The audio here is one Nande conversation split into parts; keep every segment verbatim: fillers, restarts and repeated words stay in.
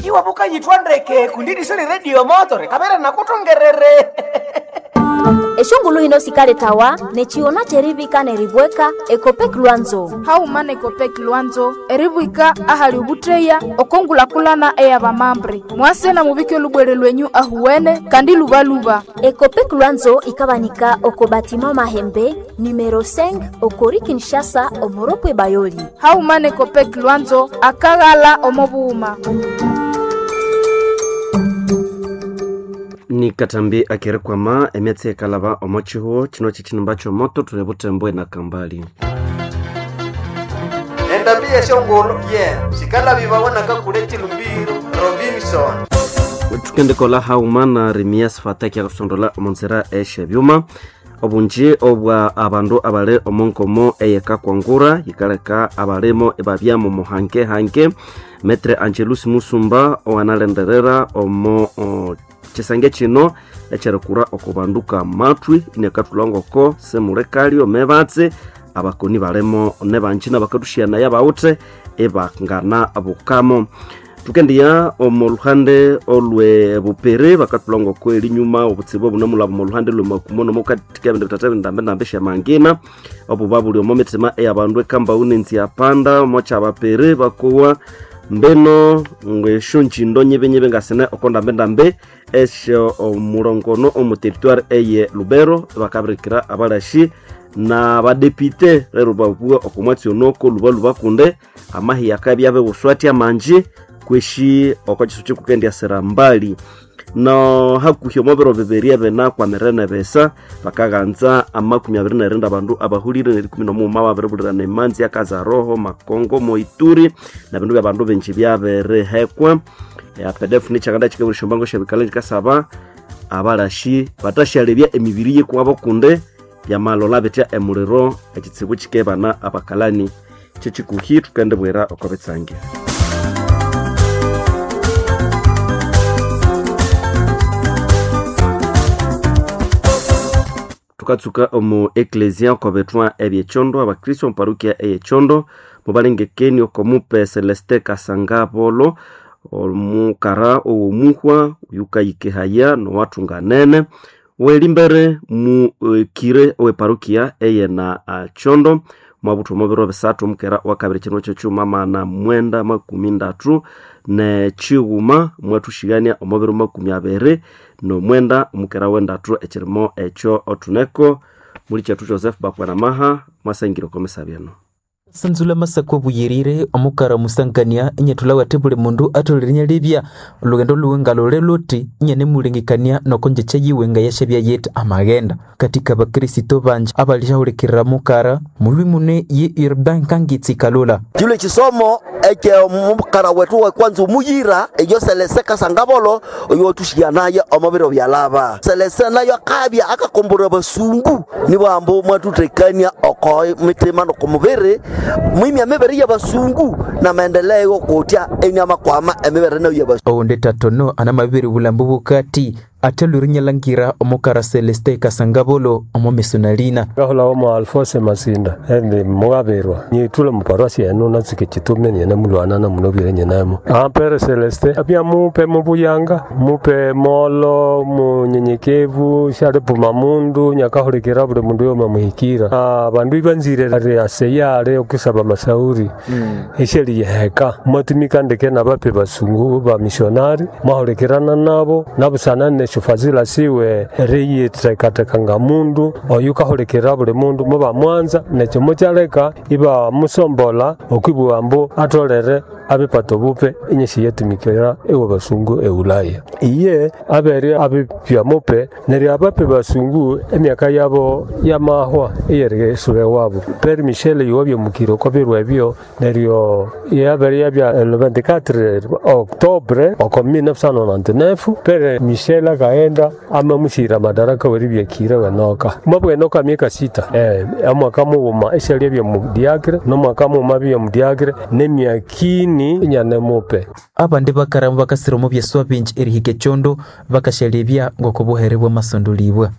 Iwabuka yitwa ndeke kundi sili radio moto rekabere nakutongerere. Eshongulu hino sikaletawa nechiona cherivika neribweka Ekopek Lwanzo. Haumana Ekopek Lwanzo eribwika ahali ubutreya okongulakulana eyabamambre mwase na mubike olubwere lwenyu ahuwene kandi lubaluba. Ekopek Lwanzo ikabanika oko batima Mahembe numero cinq okori Kinshasa omoropwe Bayoli. Haumana Ekopek Lwanzo akaghala omobuhuma. Ni katambi akirikwama emyatsi ekalaba omo chihuo chino chichinimba chomoto tuli butembwe na kambali. Endambi yeshongolo ye sikalabibawanaka kule chilumbiro Robinson. Tukendekola hauma na Remias Fataki akusondola omonzera eshebyuma obunji obwa abandu abali omonkomo eyekakwangura yikaleka abalimo ebabya mu muhanke hanke. Metre Angelus Musumba oanalenderera omo o, chisange chino ekyerikura okubanduka matwi inekathulangoko semulekalyo mebatse abakoni balimo nebanji nabakathushianaya bawuthe ebangana bukamo. Tukendiya omu luhande olwe bupere bakathulangoko erinyuma obutsibu obunamulaba omu luhande lwe makumo nomukathika ebindu bithatha ebindambendambe syamangina obuba buli omo mithima eyabandu ekambau nenziapanda omo kyabapere bakowa mbeno ng'esyonjindo nyibenyibe ngasine oko ndambendambe esyo omurongono omu territoire eye Lubero bakabirikira abalashi n'abadepite lero babua oko mwatsi onoko luba lubakunde amahi akabya abebuswati amanji kweshi oko chisu chikukendya mbali no hakuhi omobiro bibiri ebina kwamirene besa bakaghanza amakumi abiri nerinda abandu abahulire nerikumi nomughuma babiribulirana emanzi akazaroho Makongo Moituri na bindu byabandu bingi byabirihekwa. P D F nikyakanda kikaburisha ombango syabikala kikasaba abalashi batashyalebya emibiri yikuwabo kunde byamalola bitya emuliro ekitsibu kikebana abakalani kyekikuhi tukendibwira oko bitsange. Tukatsuka omu eklesia okobethwa ebyechondo abakristo omuparukia eyechondo mubalengekeni okomupe Celeste Kasangabolo omukara owomuhwa yukayikehaya nowathunganene welimbere mukire oweparukia eyena chondo mwabutha omubiro bisathu omukera wakabiri kino kyekyuma mana mwenda makumi ndatu nechighuma mwathushigania omubiro makumi abiri nomwenda omukera wendatu ekirimo ekyo othuneko muli kyethu Joseph Bakwanamaha mwasangire okomisabyeno. Sanzula masako buyirire omukara musangania inyethula wathi buli mundu atholere inyalebya olugendo luwe ngalole luthi inyanemulengekania nokonjecha yiwe ngayashabya yethu amaghenda katika bakristo banji abalishahulikirira mukara mulwi mune ye Urbain Kangitsi Kalula. Chile chisomo eke mukara wetu wa kwanza umuyira eyo Selese Kasangabolo oyo tushianaye omubiro byalaba Selese nayo akabya akakombora basungu nibambo mwatutekania oko mitima nokumubiri mwimya mibiri y'abasungu na maendeleo kutya enyama kwama emibiri nayo y'abasungu. Oundi tatono anamabiri bulambu bukati ate lurinyalangira omukara Celeste Kasangabolo omo misonalina gahula omo Alphonse Masinda endi mugabirwa nyitula muparosi eno natsike chitume nyene mulwana na munobire nyenemo ampere Celeste apya mupe mubuyanga mupe molo munyenyekevu shalipuma mundu nyakahulikira buli mundu yoma muhikira abandu ibanzire ari aseyale okusaba masauri mm. esheli yeheka mwatumika ndeke nabape basungu ba missionary mwahulikirana nabo nabusana shufazila siwe riyitekatekanga mundu oyu kahulikirira buli mundu muba mwanza nekyo mukyaleka iba musombola okwibugha mbu atolere abipata obupe inyesi yetumikira ewa basungu eulaya iye abere abipya mupe neryo abape basungu emyaka yabo yamahwa eyerisula ewabo Père Michel iwabya mukiro okobirwa ebyo neryo yabere yabya le vingt-quatre octobre oko mille neuf cent quatre-vingt-dix-neuf Père Michel akaenda amamushira madaraka weribyekire wenoka mwabwenoka myaka sita eh amwaka mughuma esyalia bya mudiakre nomwaka mughuma bya mudiakre nemyakini nyane mupe abandi bakaramu bakasira omu byeswa bingi erihika echondo bakashalebya ng'okubuhere bw'amasondolibwa.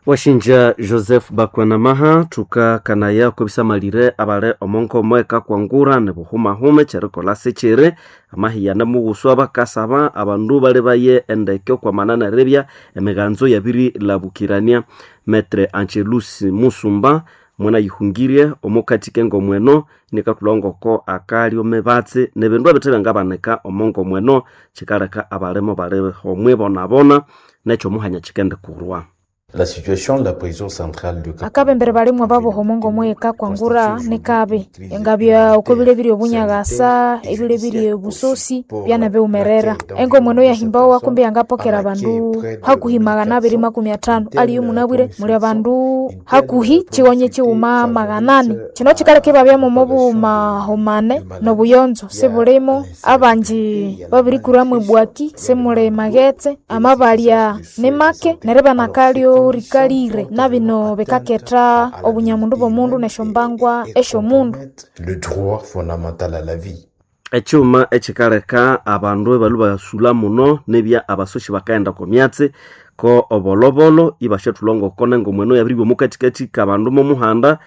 Washinja Joseph Bakwanamaha tukakanaya kubisamalire abale omonkomo ekakwangura nibuhumahume kyerikolha sikyiri amahiyana mughuswa bakasaba abandu bali baye endeke okwamana neribya emiganzo yabirilabukirania. Metre Angelus Musumba mwana yihungirie omukati k'engomweno nikathulha akali omebatsi nebindu ebithe byangabanika omongomweno kikaleka abalimo bali homwe bonabona nekyomuhanya kikendikurwa. La situation de la prison centrale de Akabembere balimwe baboha omongo ekakwangura nikabi engabya oko bile biri obunyagasa ebile biri obusosi byana biwumerera engomweno yahimbawa kumbi yangapokera abandu hakuhi magana abiri makumi atano aliyo munabwire muli abandu hakuhi chiwonye chiwuma magana ane. Kino kikaleka ibabyamu obuhumahumane nobuyonzo sibulimo abanji babirikuramu ebwaki simuli maghetse amabalya nimake neryo ibanakalyo rikalire nabino bikaketha obunyamundu bw'omundu nesyombangwa esyomundu. Le droit fondamental à la vie. Ekyuma ekikaleka abandu ebalhu basula muno nebya abasoshi bakaghenda oko myatsi ko obolobolo ibasyathulha ngoko nengomweno yabiribya omukathikathi kabandu momuhanda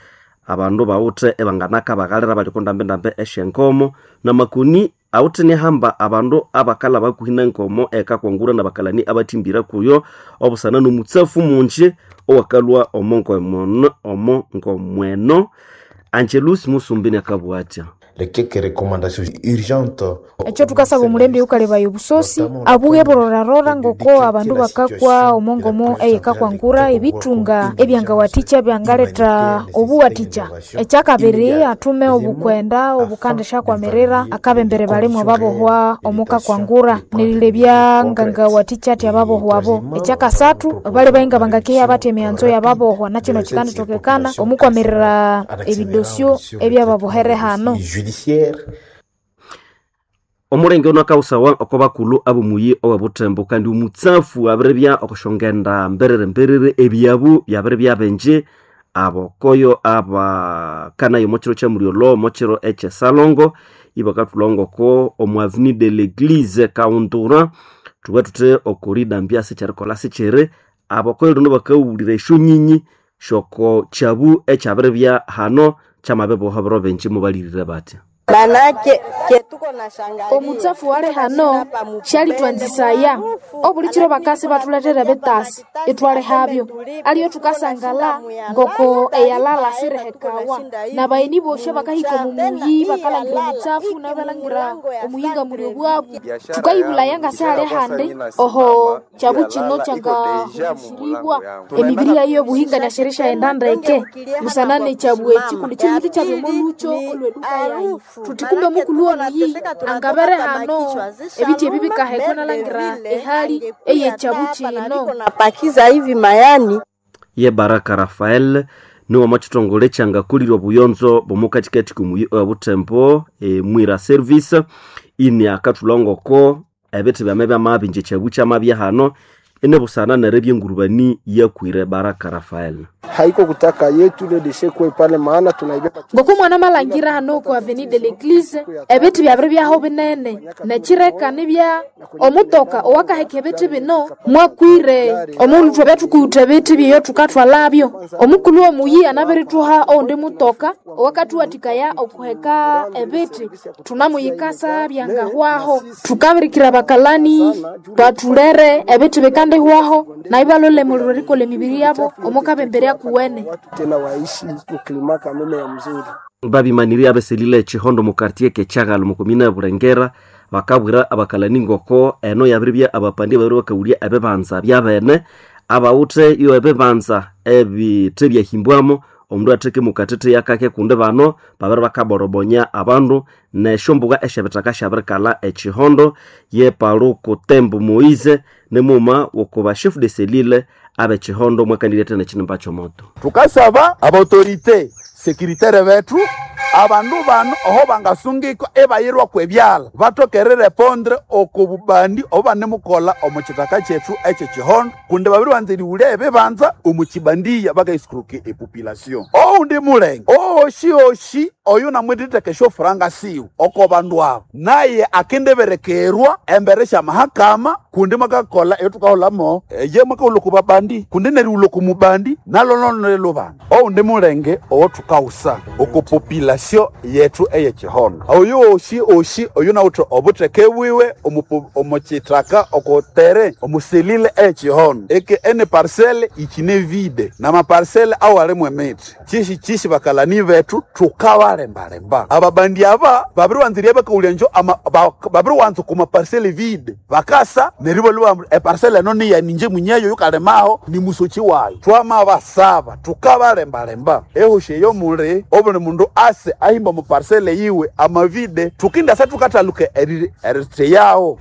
abandu bawithe ebanganaka baghalira bali okondambendambe esyenkomo namakoni awithe nihamba abandu abakalha bakuhi nenkomo ekakwangura nabakalani abathimbira kuyo obusana nomutsafu munji owakalhwa omo omo ngomweno. Angelus Musumbi nakabugha atya. Les quelques recommandations urgentes. Ekyo tukasaba omulembe yukalebaya obusosi abuhe burorarora ngoko abandu bakakwa omongomo eyekakwangura ebitunga ebyangawathikya byangaletha obuwathikya. Ekyakabiri athume obukwenda obukandishyakwamirira akabembere balimwe babohwa omukakwangura nerilebya ngangawathikya athi ababohwabo. Ekyakasathu bali bahinga bangakehya bathi emighanzo yababohwa nakino kikandithokekana omukwamirira ebidosyo ebyababohere hano. Omulenge ono akawusawa oko bakulhu abomuyi owebuthembo kandi omutsafu abiribya okusyongenda mberere mberere ebyabu byabiribya bingi abokoyo abakanayo omokiro kyamulyolho omokiro ekyesalongo ibakathulha ngoko omu avenue de l'église kaundura thuba thuthi okoridambya sikyerikolha sikyiri abokoyo lino bakawulira esyonyinyi syoko kyabu ekyabiribya hano kyamabiboha biro bingi mubalirire batya. Manake kyetuko na shangalia Omutsafu wali hano syalitwanzisaya obulikiro bakasi bathuletera ebitasi ithwalihabyo aliyo thukasangala ngoko eyalala sirihekawa nabayeni bosi abakahika omumuyi bakalangira omutsafu nabalangira omuyinga muli obwabu thukayibulaya ngasihali handi oho kyabu kino kyangahungisiribwa emibiri yayo yobuhinga nasyerisyaghenda ndeke busana nekyabu eki kundi kyibuthi kyabya omolukyo olweduka yayi thuthi kumbe mukulhu omuyi angabere hano ebithi ebi bikahekwa nalangira ehali eyekyabu kino. Napakiza hivi mayani. Ye Baraka Rafael niwe omwakithongole kyangakulire obuyonzo bw'omukathikathi komuyi owebuthembo e, Mwira Service ini akathulha ngoko ebithi byame byamabinja ekyabu kyamabya hano inibusana neribya engurubani yakwire. Baraka Rafael: Haiko kutaka yetu ile deshe kuwe pale, maana tunaibeba Ngoku mwana malangira hano ku avenue de l'église ebithi byabiri byaho binene nekireka nibya omutoka owakaheka ebithi bino mwakwire omundu thwabya thukuwutha ebithi byeyo thukathwalabyo omukulhu omuyi anabirithuha owundi mutoka owakathuwathikaya okuheka ebithi thunamuyikasa byangahwaho thukabirikira abakalani bathulere ebithi bikandihwaho nayo ibalhole erikolha emibiri yabo omukabembere akuwene. Tena waishi muklima kameme ya mzuri. Babimanirye abeselile echihondo mu quartier kekyagalo mu komina ya Bulengera bakabwira abakalani ngoko eno yabiribya abapandi babiri bakawulya ebibanza byabene abawuthe iyo ebibanza ebithe byahimbwamo omundu atheke mukatete yakake kundi bano babiri bakaborobonya abandu nesyombugha esyebithaka syabirikalha echihondo ye Paluku Tembo Moise nimuma wokuba chef de cellule abechihondo mwakandiryethe nekinimba kyomoto. Tukasaba abautorite sekiritaire bethu abandu bano oho bangasungikwa ebayirwa kwebyala batokere repondre oko bubandi obo banemukolha omu kithaka kyethu ekyekihondo kundi babiri banza erighulya ebibanza omu kibandiya bakaisikuruka epopulation oundi mulenge ooshi oshi. Oyu namwititheka esyofuranga siwe oko bandu abo naye akendiberekerwa embere syamahakama kundi mwakakola eyotukaholamo eye mwakahulha oku babandi kundi nerighulha oku mubandi nalo lubanda oundi mulenge owothukawusa oku population yethu eyekihondo oyu osi osi oyu nawuthe obutheke bwiwe omu- omukyithaka okotere omuselile eyekihondo eke ene parcele ikine vide namaparcele awalimu emithi kyishi kyishi bakalani bethu tukabalembalemba ababandi aba babiriwanzirya bakawulya njo ama- ba- babiriwanza okuma parcele vide bakasa neryo ibalwa eparcele eno niyaninje munyeyo yukalimaho ni musoki wayo twamabasaba tukabalembalemba ehoshi eyo muli obuli mundu ase ahimba omu parcele yiwe amavide tukindasa tukathaluka eri- eritheyawo.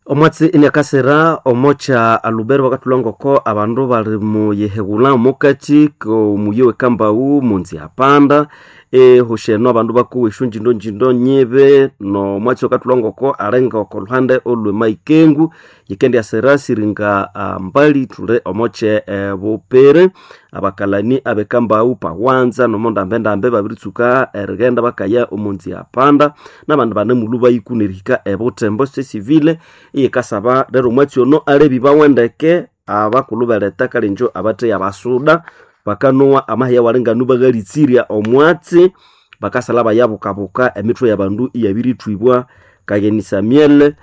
Omwatsi iniakasira omocha alubero bakathulha abandu bali muyihegulha omukati komuyi wekambau munzi apanda ehosheno abandu bakowa esyonjindonjindo nyibe nomwatsi wakathulha ngoko alinga oko luhande olwe maikengu yikendyasira siringa ah, mbali thule omoche eh, bupere abakalani abekambau pawanza nomondambendambe babiritsuka erighenda bakaya omunzi apanda nabandi banemulhu bayiku nerihika ebutembo sesivile iyikasaba rero omwatsi ono alebi bawendeke abakulhu beleta kalenjo abatheya basuda bakanowa amaheya walinganu bakhalitsirya omwatsi bakasala bayabukabuka emithwe yabandu iyabirithwibwa. Kageni Samuel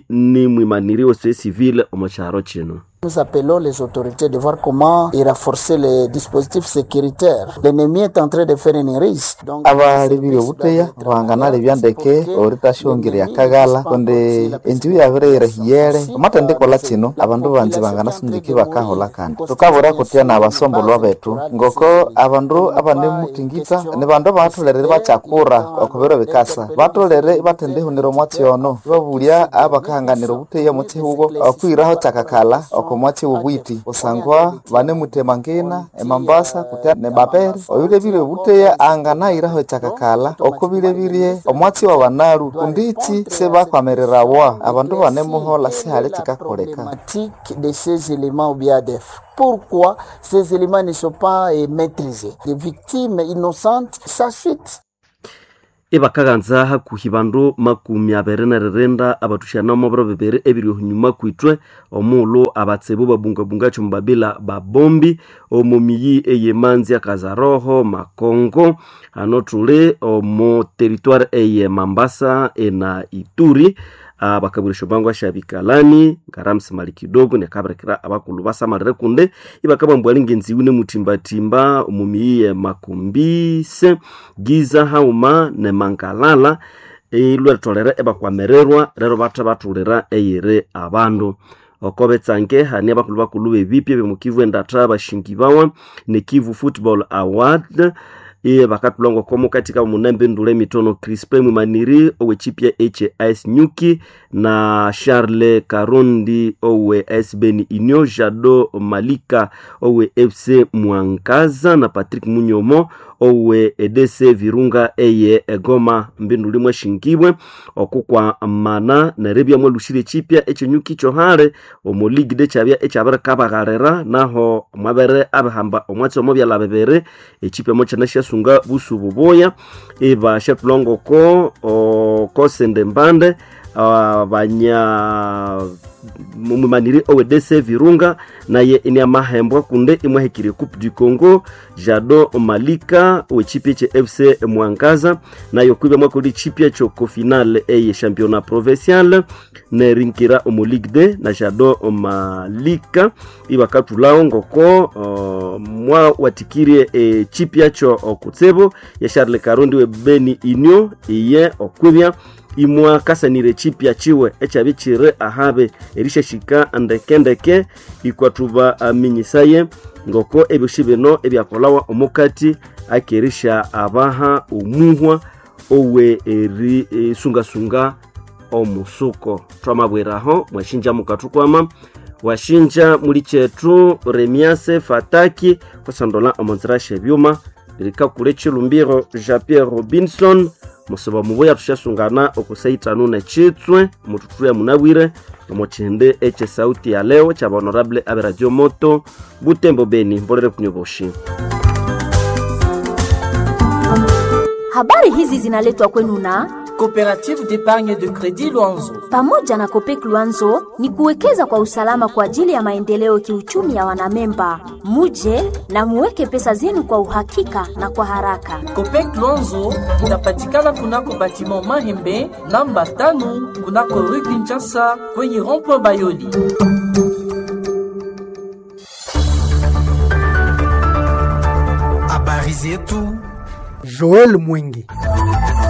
ni mwimaniri wese civile omo kyaro kino. Nous appelons les autorités de voir comment y renforcer les dispositifs sécuritaires. L'ennemi est en train de faire une risque. Donc, abalebile obuteya ruhanganalebya ndeke oritashongerya akaghala kundi enjibu yabireyirehiyere omathendikola kino abandu banzi banganasungiki bakahola kandi tukabura kutya nabasombolwa bethu ngoko abandu abanemuthingitha ni bandu abatholere bakyakura okubiro bikasa batholere ibathendihunira omwatsi ono ibabulya abakahanganira obuteya omukihugo okwiraho kyakakala oko mwatsi wobwiti kusangwa banemuthema ngina emambasa kutya nebapere oyulebire obuteya anganayiraho ekyakakala okubilebirye omwatsi wa banalu kunditsi sibakwamirirawa abandu banemuhola sihali kikakoleka. Problématique de ces éléments ou bien des pourquoi ces éléments ne sont pas eh, maîtrisés. Les victimes innocentes s'assutent. Ibakaghanza hakuhi bandu makumi abiri neririnda abathusyana omo biro bibiri ebiri ohunyuma kwithwe omughulhu abatsibu babungabunga kyomubabila babombi omo miyi eyemanzi akazaroho makongo hano thuli omo territoire eye Mambasa ena Ituri. Bakabwira esyombango syabikalani ngaramsi mali kidogo nekabirikira abakulhu basamalire kundi ibakabambwa lingenziwi nemuthimbathimba omu miyi ye Makumbise Giza hauma ne Mangalala ilwetholere ebakwamirirwa rero bathe bathulira eyiri abandu oko betsange hani abakulhu bakulhu bebipya byemukivu endatha bashingibawa ne Kivu Football Award iye bakathulha ngoko mukati kabo munembendula emitono Crispin Mwimaniri owechipya H S Nyuki na Charles Karundi owe S Beni Inyo Jado Malika owe F C Mwangaza na Patrick Munyomo owe E D C Virunga eye Egoma mbinduli mwashingibwe okukwa mana nerebya mwelushire chipya echenyuki chohale omo league de chabya ekyabirikabaghalira naho mwabere abihamba omwatsi omo byala bibiri echipya mokyana sunga busu bubuya iba shatulongoko okosende mbande abanya mwimaniri owe D C Virunga naye ini amahembwa kunde imwahekire Coupe du Congo Jado Malika wechipya che F C Mwangaza nayo kwibya mwakoli chipya choko finale eye championnat provincial nerinkira omu Ligue D na Jado Malika ibakatulao ngoko uh, mwa watikirie e, chipya cho okutsebo ya Charles Karundi we Beni Inyo iye okwibya imwa kasanire chipya chiwe ekyabikire ahabe erishashika ndekendeke ikwathuba aminyisaye ngoko ebyoshi bino ebyakolawa omukati akerisha abaha omuhwa owe eri esungasunga omusuko twamabweraho mwashinja mukathukwama washinja muli kyethu Remiase Fataki kusondola omonzira shebyuma lirikakule chilumbiro Jean Pierre Robinson musiba mubuya tushasungana okusaitanu nechitswe mututhuya munabwire omuchihindi eche sauti ya leo cha honorable abe radio moto Butembo Beni mbolere kunyoboshi. Habari hizi zinaletwa kwenu na Coopérative d'épargne de crédit Luanzo. Pamoja na Kopek Luanzo ni kuwekeza kwa usalama kwa ajili ya maendeleo kiuchumi ya wanamemba. Muje na muweke pesa zenu kwa uhakika na kwa haraka. Copec Luanzo inapatikana kunako batiment Mahembe namba tano kunako rue Kinshasa kwenye rond-point Bayoli. Habari zetu Joel Mwingi.